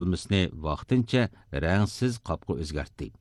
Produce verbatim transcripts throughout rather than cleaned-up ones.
ئورالمىسىنى ۋاقتىنچە رەڭسىز قاپقا ئۆزگەرتتى.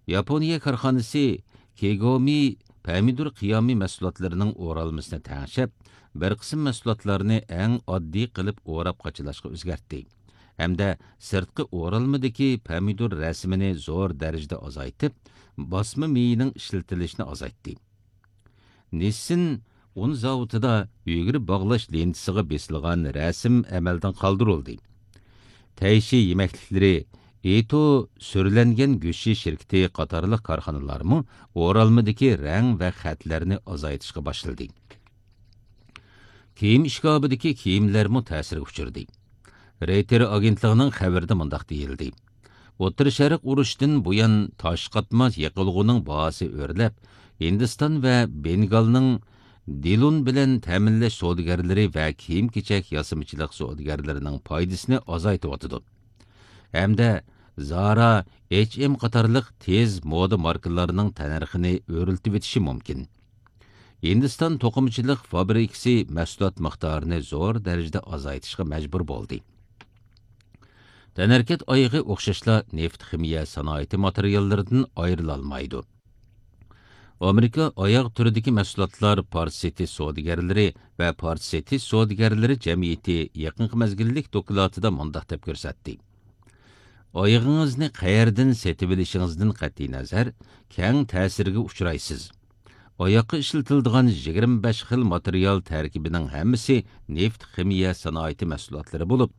ياپونىيە كارخانىسى كېگومى پەمىدۇر قىيامى مەھسۇلاتلىرىنىڭ ئورالمىسىنى تەڭشەپ، بىر قىسىم مەھسۇلاتلارنى ئەڭ ئاددىي قىلىپ ئوراپ قاچىلاشقا ئۆزگەرتتى ھەمدە سىرتقى ئورالمىدىكى پەمىدۇر رەسىمىنى زور دەرىجىدە ئازايتىپ، باسما مېيىنىڭ ئىشلىتىلىشىنى ئازايتتى. نىسسىن ئۇن زاۋۇتىدا ئۈگرە باغلاش لېنتىسىغا بېسىلغان رەسىم ئەمەلدىن قالدۇرۇلدى. تەيشى يېمەكلىكلىرى، ئېتو سۈرلەنگەن گۆشى شىركىتى قاتارلىق كارخانىلارمۇ ئورالمىدىكى رەڭ ۋە خەتلەرنى ئازايتىشقا باشلىدى. كىيىم ئىشكاپىدىكى كىيىملەرمۇ تەسىرگە ئۇچرىدى. رېيتېر ئاگېنتلىقىنىڭ خەۋىرىدە مۇنداق دېيىلدى: ئوتتۇرا شەرق ئۇرۇشىدىن بۇيان تاش قاتماس يېقىلغۇنىڭ باھاسى ئۆرلەپ، ھىندىستان ۋە بېنگالنىڭ دىلۇن بىلەن تەمىنلەش سودىگەرلىرى ۋە كىيىم-كېچەك ياسىمىچىلىق سودىگەرلىرىنىڭ پايدىسىنى ئازايتىۋاتىدۇ. ھەمدە زارا، ئېچ ئېم قاتارلىق تېز مودا ماركىلارنىڭ تەننەرخىنى ئۆرلىتىۋېتىشى مۇمكىن. ھىندىستان توقۇمىچىلىق فابرىكىسى مەھسۇلات مىقدارىنى زور دەرىجىدە ئازايتىشقا مەجبۇر بولدى. تەنھەرىكەت ئايىغى ئوخشاشلا نېفىت خىمىيە سانائىتى ماتېرىياللىرىدىن ئايرىلالمايدۇ. ئامېرىكا ئاياغ تۈرىدىكى مەھسۇلاتلار پارچە سېتىش سودىگەرلىرى ۋە پارچە سېتىش سودىگەرلىرى جەمئىيىتى يېقىنقى مەزگىللىك دوكلاتىدا مۇنداق دەپ كۆرسەتتى: ئايىغىڭىزنى قەيەردىن سېتىۋېلىشىڭىزدىن قەتئىينەزەر، كەڭ تەسىرگە ئۇچرايسىز. ئاياغقا ئىشلىتىلىدىغان يىگىرمە بەش خىل ماتېرىيال تەركىبىنىڭ ھەممىسى نېفىت خىمىيە سانائىتى مەھسۇلاتلىرى بولۇپ،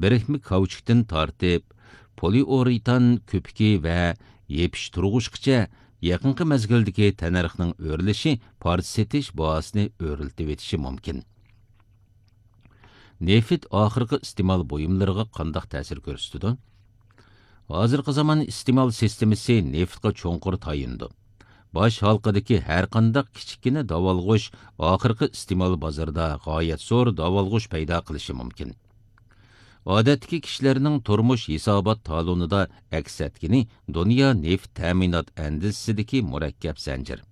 بىرىكمە كاۋچۇكتىن تارتىپ، پولىئۇرېتان كۆپۈكى ۋە يېپىشتۇرغۇچقىچە يېقىنقى مەزگىلدىكى تەننەرخنىڭ ئۆرلىشى پارچە سېتىش باھاسىنى ئۆرلىتىۋېتىشى مۇمكىن. نېفىت ئاخىرقى ئىستېمال بۇيۇملىرىغا قانداق تەسىر كۆرسىتىدۇ؟ ھازىرقى زامان ئىستېمال سىستېمىسى نېفىتقا چوڭقۇر تايىنىدۇ. باش ھالقىدىكى ھەرقانداق كىچىككىنە داۋالغۇش ئاخىرقى ئىستېمال بازىرىدا غايەت زور داۋالغۇش پەيدا قىلىشى مۇمكىن. ئادەتتىكى كىشىلەرنىڭ تۇرمۇش ھېسابات تالونىدا ئەكس ئەتكىنى دۇنيا نېفىت تەمىنات ئەندىزىسىدىكى مۇرەككەپ زەنجىر.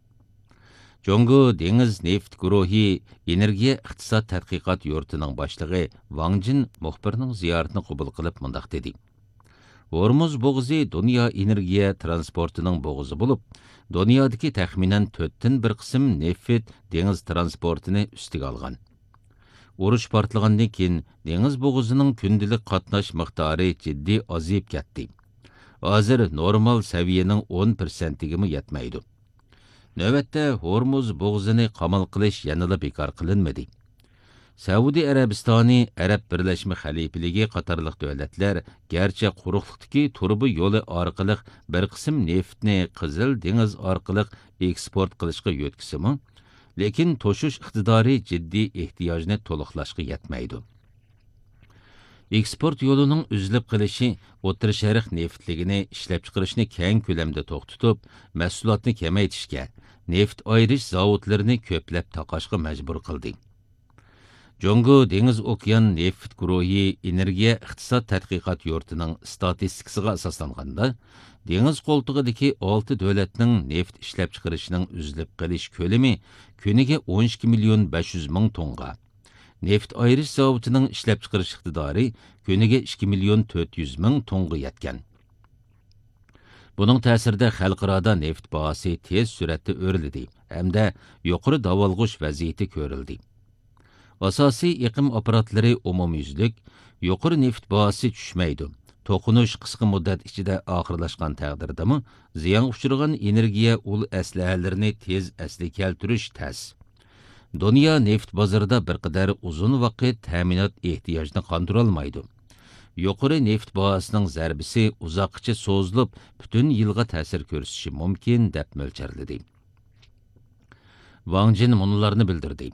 جۇڭگو دېڭىز نېفىت گۇرۇھى ئېنېرگىيە ئىقتىساد تەتقىقات يۇرتىنىڭ باشلىقى ۋاڭ جىن مۇخبىرنىڭ زىيارىتىنى قوبۇل قىلىپ مۇنداق دېدى: ھورمۇز بوغۇزى دۇنيا ئېنېرگىيە ترانسپورتىنىڭ بوغۇزى بولۇپ، دۇنيادىكى تەخمىنەن تۆتتىن بىر قىسىم نېفىت دېڭىز ترانسپورتىنى ئۈستىگە ئالغان. ئۇرۇش پارتلىغاندىن كېيىن، دېڭىز بوغۇزىنىڭ كۈندىلىك قاتناش مىقدارى جىددىي ئازىيىپ كەتتى. ھازىر نورمال سەۋىيەنىڭ ئون پىرسەنتىگىمۇ يەتمەيدۇ. نۆۋەتتە ھورمۇز بوغۇزىنى قامال قىلىش يەنىلا بىكار قىلىنمىدى. سەئۇدى ئەرەبىستانى، ئەرەب بىرلەشمە خەلىپىلىكى قاتارلىق دۆلەتلەر گەرچە قۇرۇقلۇقتىكى تۇرۇبا يولى ئارقىلىق بىر قىسىم نېفىتنى قىزىل دېڭىز ئارقىلىق ئېكسپورت قىلىشقا يۆتكىسىمۇ، لېكىن توشۇش ئىقتىدارى جىددىي ئېھتىياجنى تولۇقلاشقا يەتمەيدۇ. ئېكسپورت يولىنىڭ ئۈزۈلۈپ قېلىشى ئوتتۇرا شەرق نېفىتلىكىنى ئىشلەپچىقىرىشنى كەڭ كۆلەمدە توختىتىپ، مەھسۇلاتنى كېمەيتىشكە، نېفىت ئايرىش زاۋۇتلىرىنى كۆپلەپ تاقاشقا مەجبۇر قىلدى. جۇڭگو دېڭىز ئوكيان نېفىت گۇرۇھى ئېنېرگىيە ئىقتىساد تەتقىقات يۇرتىنىڭ ئىستاتىستىكىسىغا ئاساسلانغاندا، دېڭىز قولتۇقىدىكى ئالتە دۆلەتنىڭ نېفىت ئىشلەپچىقىرىشىنىڭ ئۈزۈلۈپ قېلىش كۆلىمى كۈنىگە ئون ئىككى مىليون بەش يۈز مىڭ تونغا، نېفىت ئايرىش زاۋۇتىنىڭ ئىشلەپچىقىرىش ئىقتىدارى كۈنىگە ئىككى مىليون تۆت يۈز مىڭ تونغا يەتكەن. بۇنىڭ تەسىرىدە خەلقئارادا نېفىت باھاسى تېز سۈرئەتتە ئۆرلىدى ھەمدە يۇقىرى داۋالغۇش ۋەزىيىتى كۆرۈلدى. ئاساسىي ئېقىم ئاپپاراتلىرى ئومۇميۈزلۈك، يۇقىرى نېفىت باھاسى چۈشمەيدۇ. توقۇنۇش قىسقا مۇددەت ئىچىدە ئاخىرلاشقان تەقدىردىمۇ، زىيانغا ئۇچرىغان ئېنېرگىيە ئۇل ئەسلىھەلىرىنى تېز ئەسلىگە كەلتۈرۈش تەس. دۇنيا نېفىت بازىرىدا بىر قەدەر ئۇزۇن ۋاقىت تەمىنات ئېھتىياجىنى قاندۇرالمايدۇ. يۇقىرى نېفىت باھاسىنىڭ زەربىسى ئۇزاققىچە سوزۇلۇپ، پۈتۈن يىلغا تەسىر كۆرسىتىشى مۇمكىن، دەپ مۆلچەرلىدى. ۋاڭ جىن مۇنۇلارنى بىلدۈردى: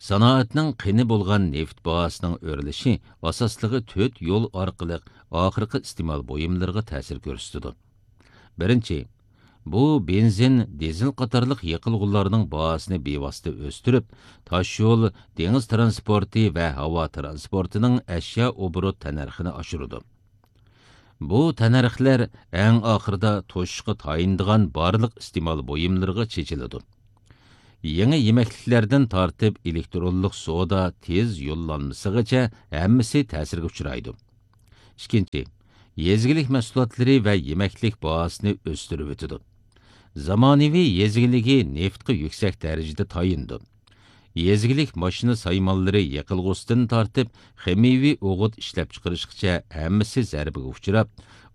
سانائەتنىڭ قېنى بولغان نېفىت باھاسىنىڭ ئۆرلىشى ئاساسلىقى تۆت يول ئارقىلىق ئاخىرقى ئىستېمال بۇيۇملىرىغا تەسىر كۆرسىتىدۇ. بىرىنچى، بۇ بېنزىن، دىزېل قاتارلىق يېقىلغۇلارنىڭ باھاسىنى بىۋاسىتە ئۆستۈرۈپ، تاشيول، دېڭىز ترانسپورتى ۋە ھاۋا ترانسپورتىنىڭ ئەشيا ئوبوروت تەننەرخىنى ئاشۇرىدۇ. بۇ تەننەرخلەر ئەڭ ئاخىرىدا توشۇشقا تايىنىدىغان بارلىق ئىستېمال بۇيۇملىرىغا چېچىلىدۇ. يېڭى يېمەكلىكلەردىن تارتىپ ئېلېكترونلۇق سودا تېز يوللانمىسىغىچە ھەممىسى تەسىرگە ئۇچرايدۇ. ئىككىنچى، يېزا ئىگىلىك مەھسۇلاتلىرى ۋە يېمەكلىك باھاسىنى ئۆستۈرۈۋېتىدۇ. زامانىۋى يېزا ئىگىلىكى نېفىتقا يۈكسەك دەرىجىدە تايىنىدۇ. يېزا ئىگىلىك ماشىنا سايمانلىرى يېقىلغۇسىدىن تارتىپ، خىمىيەۋى ئوغۇت ئىشلەپچىقىرىشقىچە ھەممىسى زەربىگە ئۇچراپ،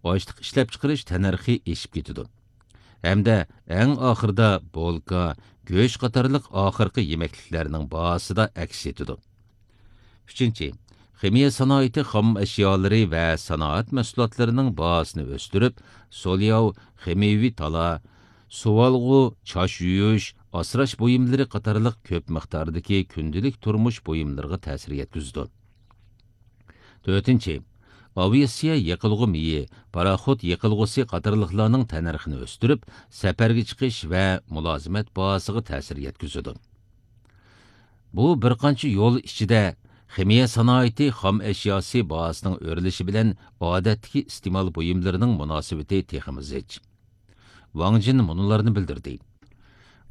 ئاشلىق ئىشلەپچىقىرىش تەننەرخى ئېشىپ كېتىدۇ. ھەمدە ئەڭ ئاخىرىدا بولكا، گۆش قاتارلىق ئاخىرقى يېمەكلىكلەرنىڭ باھاسىدا ئەكس ئېتىدۇ. ئۈچىنچى، خىمىيە سانائىتى خام ئەشيالىرى ۋە سانائەت مەھسۇلاتلىرىنىڭ باھاسىنى ئۆستۈرۈپ، سولياۋ، خىمىيەۋى تالا، سۇۋالغۇ، چاچ يۇيۇش، ئاسراش بۇيۇملىرى قاتارلىق كۆپ مىقداردىكى كۈندىلىك تۇرمۇش بۇيۇملىرىغا تەسىر يەتكۈزىدۇ. تۆتىنچى، ئاۋىئاتسىيە يېقىلغۇ مېيى، پاراخوت يېقىلغۇسى قاتارلىقلارنىڭ تەننەرخىنى ئۆستۈرۈپ، سەپەرگە چىقىش ۋە مۇلازىمەت باھاسىغا تەسىر يەتكۈزىدۇ. بۇ بىر قانچە يول ئىچىدە خىمىيە سانائىتى خام ئەشياسى باھاسىنىڭ ئۆرلىشى بىلەن ئادەتتىكى ئىستېمال بۇيۇملىرىنىڭ مۇناسىۋىتى تېخىمۇ زىچ. ۋاڭ جىن مۇنۇلارنى بىلدۈردى.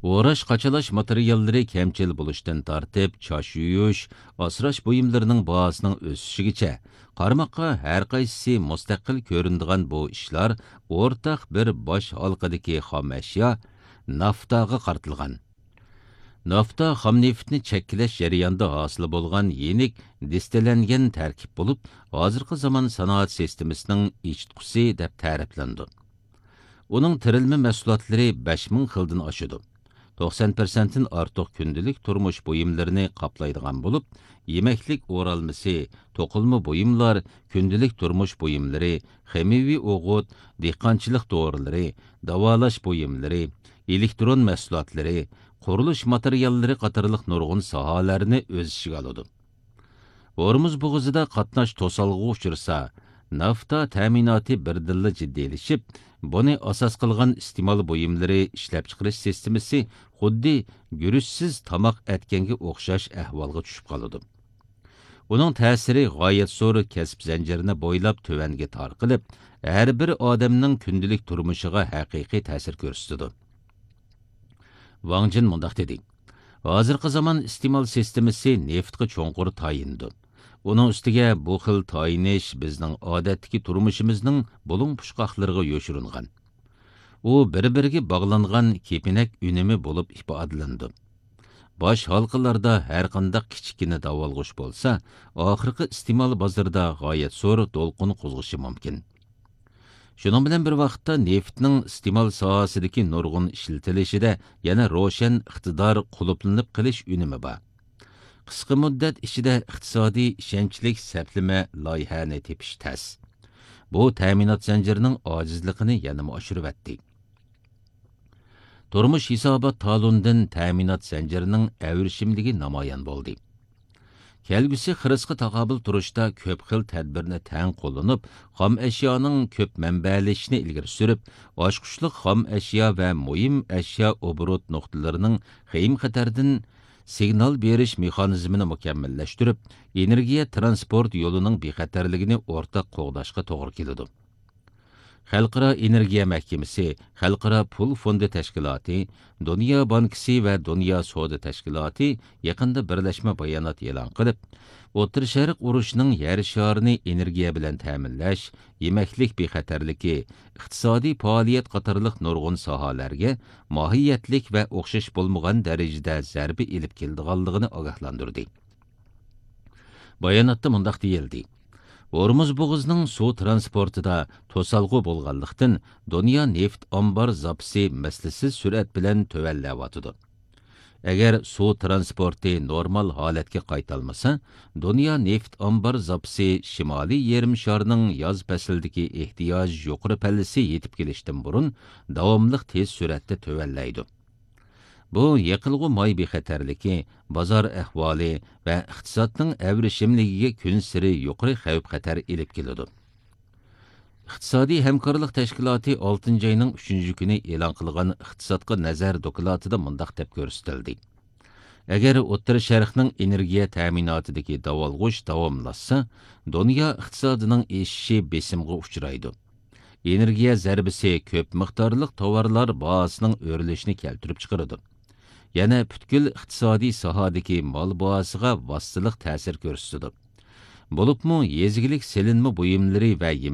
ئوراش قاچىلاش ماتېرىياللىرى كەمچىل بولۇشتىن تارتىپ، چاچ يۇيۇش، ئاسراش بۇيۇملىرىنىڭ باھاسىنىڭ ئۆسۈشىگىچە، قارىماققا ھەر قايسىسى مۇستەقىل كۆرۈنىدىغان بۇ ئىشلار ئورتاق بىر باش ھالقىدىكى خام ئەشيا نافتاغا قارىتىلغان. نافتا خام نېفىتنى چەككىلەش جەريانىدا ھاسىل بولغان يېنىك دىستىللەنگەن تەركىب بولۇپ، ھازىرقى زامان سانائەت سىستېمىسىنىڭ ئېچىتقۇسى دەپ تەرىپلىنىدۇ. ئۇنىڭ تىرىلمە مەھسۇلاتلىرى بەش مىڭ خىلدىن ئاشىدۇ. توقسان پىرسەنتتىن ئارتۇق كۈندىلىك تۇرمۇش بۇيۇملىرىنى قاپلايدىغان بولۇپ، يېمەكلىك ئورالمىسى، توقۇلما بۇيۇملار، كۈندىلىك تۇرمۇش بۇيۇملىرى، خىمىيەۋى ئوغۇت، دېھقانچىلىق دورىلىرى، داۋالاش بۇيۇملىرى، ئېلېكترون مەھسۇلاتلىرى، قۇرۇلۇش ماتېرىياللىرى قاتارلىق نۇرغۇن ساھەلەرنى ئۆز ئىچىگە ئالىدۇ. ھورمۇز بوغۇزىدا قاتناش توسالغۇغا ئۇچرىسا، نافتا تەمىناتى بىردىنلا جىددىيلىشىپ، بۇنى ئاساس قىلغان ئىستېمال بۇيۇملىرى ئىشلەپچىقىرىش سىستېمىسى خۇددى گۈرۈچسىز تاماق ئەتكەنگە ئوخشاش ئەھۋالغا چۈشۈپ قالىدۇ. ئۇنىڭ تەسىرى غايەت زور كەسىپ زەنجىرىنى بويلاپ تۆۋەنگە تارقىلىپ، ھەر بىر ئادەمنىڭ كۈندىلىك تۇرمۇشىغا ھەقىقىي تەسىر كۆرسىتىدۇ. ۋاڭ جىن مۇنداق دېدى: ھازىرقى زامان ئىستېمال سىستېمىسى نېفىتقا چوڭقۇر تايىنىدۇ. ئۇنىڭ ئۈستىگە بۇ خىل تايىنىش بىزنىڭ ئادەتتىكى تۇرمۇشىمىزنىڭ بۇلۇڭ پۇچقاقلىرىغا يوشۇرۇنغان. ئۇ بىر-بىرىگە باغلانغان كېپىنەك ئۈنۈمى بولۇپ ئىپادىلىنىدۇ. باش ھالقىلاردا ھەرقانداق كىچىككىنە داۋالغۇش بولسا، ئاخىرقى ئىستېمال بازىرىدا غايەت زور دولقۇن قوزغىشى مۇمكىن. شۇنىڭ بىلەن بىر ۋاقىتتا، نېفىتنىڭ ئىستېمال ساھەسىدىكى نۇرغۇن ئىشلىتىلىشىدە يەنە روشەن ئىقتىدار قۇلۇپلىنىپ قېلىش ئۈنۈمى بار. قىسقا مۇددەت ئىچىدە ئىقتىسادىي ئىشەنچلىك سەپلىمە لايىھەنى تېپىش تەس. بۇ تەمىنات زەنجىرىنىڭ ئاجىزلىقىنى يەنىمۇ ئاشۇرۇۋەتتى. تۇرمۇش ھېسابات تالونىدىن تەمىنات زەنجىرىنىڭ ئەۋرىشىملىكى نامايان بولدى. كەلگۈسى خىرىسقا تاقابىل تۇرۇشتا كۆپ خىل تەدبىرنى تەڭ قوللىنىپ، خام ئەشيانىڭ كۆپ مەنبەلىشىشىنى ئىلگىرى سۈرۈپ، ئاچقۇچلۇق خام ئەشيا ۋە مۇھىم ئەشيا ئوبوروت نۇقتىلىرىنىڭ خېيىم خەتەردىن سىگنال بېرىش مېخانىزمىنى مۇكەممەللەشتۈرۈپ، ئېنېرگىيە ترانسپورت يولىنىڭ بىخەتەرلىكىنى ئورتاق قوغداشقا توغرا كېلىدۇ. خەلقئارا ئېنېرگىيە مەھكىمىسى، خەلقئارا پۇل فوندى تەشكىلاتى، دۇنيا بانكىسى ۋە دۇنيا سودا تەشكىلاتى يېقىندا بىرلەشمە بايانات ئېلان قىلىپ، ئوتتۇرا شەرق ئۇرۇشىنىڭ يەر شارىنى ئېنېرگىيە بىلەن تەمىنلەش، يېمەكلىك بىخەتەرلىكى، ئىقتىسادىي پائالىيەت قاتارلىق نۇرغۇن ساھەلەرگە ماھىيەتلىك ۋە ئوخشاش بولمىغان دەرىجىدە زەربە ئېلىپ كېلىدىغانلىقىنى ئاگاھلاندۇردى. باياناتتا مۇنداق دېيىلدى: ھورمۇز بوغۇزىنىڭ سۇ ترانسپورتىدا توسالغۇ بولغانلىقتىن، دۇنيا نېفىت ئامبار زاپىسى مىسلىسىز سۈرئەت بىلەن تۆۋەنلەۋاتىدۇ. ئەگەر سۇ ترانسپورتى نورمال ھالەتكە قايتالمىسا، دۇنيا نېفىت ئامبار زاپىسى شىمالىي يېرىم شارنىڭ ياز پەسلىدىكى ئېھتىياج يۇقىرى پەللىسى يېتىپ كېلىشتىن بۇرۇن داۋاملىق تېز سۈرئەتتە تۆۋەنلەيدۇ. بۇ يېقىلغۇ ماي بىخەتەرلىكى، بازار ئەھۋالى ۋە ئىقتىسادنىڭ ئەۋرىشىملىكىگە كۈنسېرى يۇقىرى خەۋپ-خەتەر ئېلىپ كېلىدۇ. ئىقتىسادىي ھەمكارلىق تەشكىلاتى ئالتىنچى ئاينىڭ ئۈچىنچى كۈنى ئېلان قىلغان ئىقتىسادقا نەزەر دوكلاتىدا مۇنداق دەپ كۆرسىتىلدى: ئەگەر ئوتتۇرا شەرقنىڭ ئېنېرگىيە تەمىناتىدىكى داۋالغۇش داۋاملاشسا، دۇنيا ئىقتىسادىنىڭ ئېشىشى بېسىمغا ئۇچرايدۇ. ئېنېرگىيە زەربىسى كۆپ مىقدارلىق تاۋارلار باھاسىنىڭ ئۆرلىشىنى كەلتۈرۈپ چىقىرىدۇ. يەنە پۈتكۈل ئىقتىسادىي ساھەدىكى مال باھاسىغا ۋاسىتىلىق تەسىر كۆرسىتىدۇ. بولۇپمۇ يېزا ئىگىلىك سېلىنما بۇيۇملىرى ۋە يېمەكلىك